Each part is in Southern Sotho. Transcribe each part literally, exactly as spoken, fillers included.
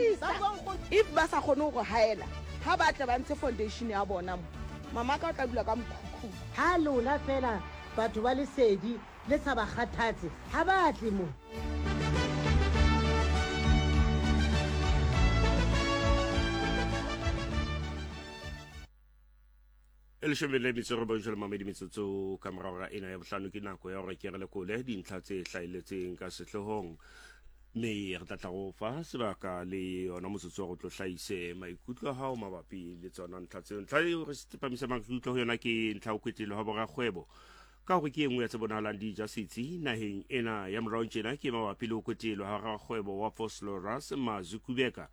Tlisa. If ba sa kgone go haela, ha ba tle ba ntshe foundation ya bona mo. Mama ka o tla dula ka mokhukhung. Ha lona fela batho ba lesedi le sa ba kgathatse, ha ba tle mo. E leshome le metso e robong jwale mamedi metsotso ka morao ga ena ya bohlano ke nako ya gore ke re lekole dintlha tse hlahelletseng ka sehloohong, mme re tla tla go fa sebaka le yona motsotso wa go tlo hlahise maikutlo a hao mabapi le tsona ntlha tseo. Ntlha eo re tsepamisa maikutlo ho yona ke ntlha ho kwetlelo ha borakgwebo ka gore ke e nngwe ya tse bonahalang di ja setsi naheng ena ya morao tjena, ke mabapi le ho kwetelwa ha rakgwebo wa Vosloorus Mazwi Kubeka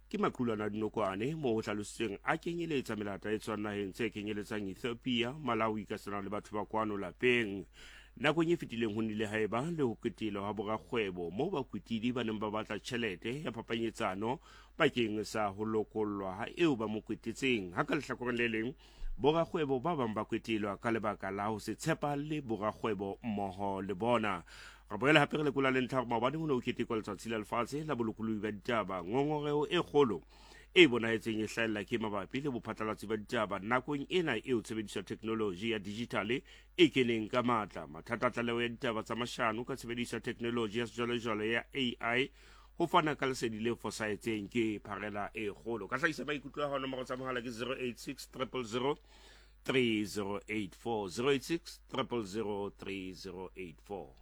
ke maqulwana a dinokwane moo ho hlalositsweng a kenyeletsa melata e tswang naheng tse kenyeletsang Ethiopia, Malawi ka sena le batho ba kwano lapeng. Nakong e fetileng ho nnile ha eba le ho ketelwa ha borakgwebo moo bakwetidi ba neng ba batla tjhelete ya phapanyetsano bakeng sa ho lokollwa ha eo ba mo kwetetseng. Ha ka lehlakoreng le leng borakgwebo ba bang ba kwetelwa ka lebaka la ho se tshepahalle borakgwebo mmoho le bona. Re boela hape re lekola le ntlha gore maobane ho ne ho ketekwa letsatsi la lefatshe la bolokolohi ba ditaba. Ngongoreho e kgolo e bonahetseng e hlahella ke mabapi le bophatlalatsi ba ditaba nakong ena eo tshebediso ya technology ya digital e keneng ka matla. Mathata a tlaleho ya ditaba tsa mashano ka tshebediso ya technology ya sejwalejwale ya A I ho fana ka lesedi le fosahetseng ke pharela e kgolo. Ka hlahisa maikutlo a hao, nomoro tsa mohala ke zero eight six triple zero three zero eight four, zero eight six triple zero three zero eight four.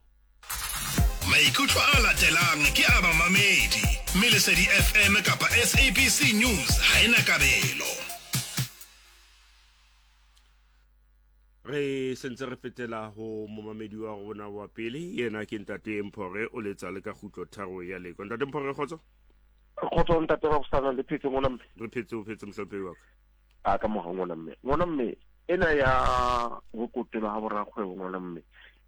Maikutlo a latelang ke a bamamedi, mme Lesedi F M kapa S A B C News ha ena kabelo. Re sentse re fetela ho momamedi wa rona wa pele, yena ke Ntate Mphore, o letsa le ka kgutlo tharo ya Leko. Ntate Mphore, kgotso? Kgotso ntate wa Bosana, le phetse ngwana mme? Re phetse, o phetse mohlomphehi wa ka. A ka moha ngwana mme. Ngwana mme, ena ya ho kotelwa ha borakgwebo ngwana mme,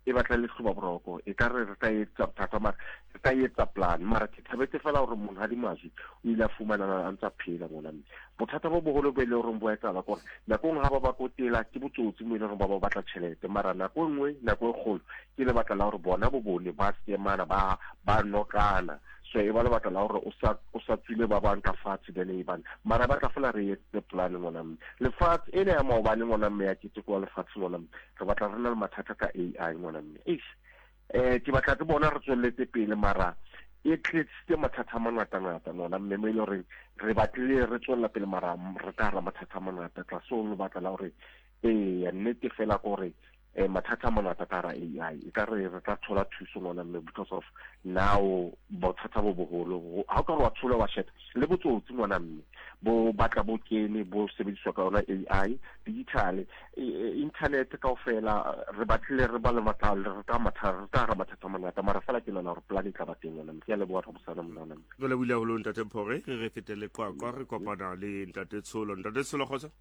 e batla le hloba boroko, e ka re re tla etsa bothata mara re tla etsa plan, mara ke thabetse fela hore monghadi Mazwi o ile a fumana a ntsa phela ngwana mme. Bothata bo boholo bo e leng hore bo etsahala ke hore nako nngwe ha ba ba kotela ke botsotsi mo e leng hore ba ba batla tjhelete, mara nako e nngwe, nako e kgolo ke lebaka la hore bona bo bone ba semana, ba, ba nokana. So e ba lebaka la hore o sa, o sa tswile ba bang ka fatshe then e bana, mara ba tla fela re etse plan ngwana mme. Lefatshe ena ya maobane ngwana mme ya keteko wa lefatshe ngwana mme, re batla re na le mathata ka A I ngwana mme. Eish, eh, ke batla ke bona re tswelletse pele, mara e tletsitse mathata a mangata-ngata ngwana mme, mo e leng hore re batlile re tswella pele, mara re ka hara mathata a mangata. Tlase ho lebaka la hore eya nnete fela ke hore eh, mathata a mangata ka hara A I, e ka re re tla thola thuso ngwana mme, because of now bothata bo boholo. Ha o ka re wa thola wa sheba le botsotsi ngwana mme, bo batla bo kene bo sebediswa ka yona A I, digital, e, e, internet kaofela, re batlile re ba le matla, re ka matha, re ka hara mathata a mangata, mara fela ke nahana hore plan e tla ba teng ngwana mme. Ke a leboha Rabosana monna mme. Re lebohile haholo Ntate Mphore, re re fetele Qwaqwa, re kopana le Ntate Tsholo. Ntate Tsholo, kgotso?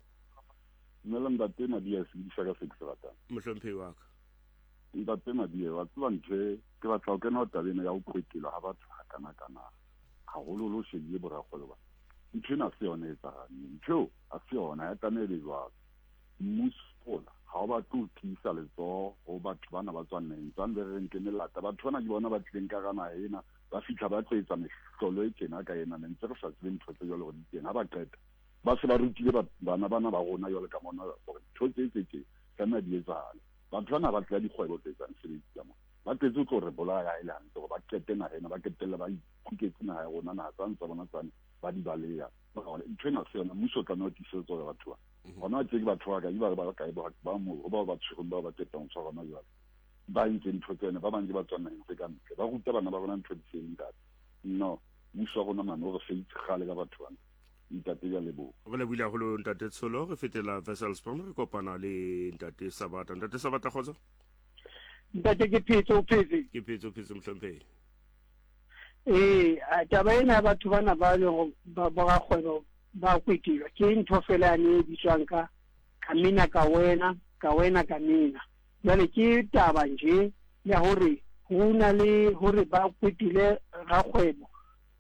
Dumela Ntate Madiya, se bidisa ka se ke se ratang. Mohlomphehi wa ka. Ntate Madiya, wa tseba ntho e, ke batla ho kena ho taba ena ya ho kwetelwa ha batho hakana-kana, haholoholo o shebile borakgwebo ba. Ntho ena ha se yona e etsahalang, ntho eo ha se yona, ha e tlameha e be jwalo. Mmuso ona ha o batle ho tiisa letsoho ho batho bana ba tswang naheng tsane be re reng ke melata. Batho bana ke bona ba tlileng ka hara naha ena, ba fihla ba tlo etsa mehlolo e tjena ka ena, ne ntse re sa tsebe ntho tse jwalo hore di teng. Ha ba qeta ba se ba rutile ba-, bana bana ba rona jwalo ka mona hore ntho tse tse tje tlameha di etsahale. Batho bana ba tla dikgwebo tse etsang mesebetsi ka mona, ba tletse ho tlo re bolaya ha e le hantle hore ba qete naha ena, ba qetelle ba ikhuketse naha ya rona, naha tsane tsa bona tsane ba di baleha. Ntho ena se yona, mmuso o tlameha ho tiisetsa hore batho ba Mhm. hona tje ke batho ba kae, ba re ba kae, ba ba moo, ho bao ba tshwerweng, bao ba qetang ho tshwarwa hona jwale, ba entseng ntho tsena, ba bang ke ba tswang naheng tse ka ntle, ba ruta bana ba rona ntho di seng ntate. No, mmuso wa rona mane o re feitse kgale ka batho bana. Ntate, ke a leboha. Re lebohile haholo Ntate Tsholo. Re fetela Wesselsbron, re kopana le Ntate Sabata. Ntate Sabata, kgotso? Ntate, ke phetse, o phetse? Ke phetse, o phetse mohlomphehi. Ee, a, taba ena ya batho bana ba leng hore ba, ba rakgwebo ba kwetelwa ke ntho fela yane e bitswang ka, ka mena ka wena, ka wena ka mena. Jwale ke taba nje ya hore ho na le hore ba kwetele rakgwebo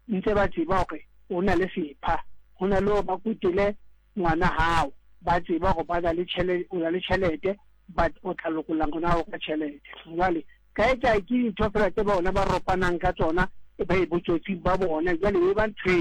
ntse ba tseba hore o na le sepha, ho na le hore ba kwetele ngwana hao ba tseba hore ba na le tjhele-, o na le tjhelete, but o tla lokolla ngwana hao ka tjhelete. Jwale kae kae ke dintho fela tse bona ba ropanang ka tsona, ba e botsotsi ba bona. Jwale e ba ntho e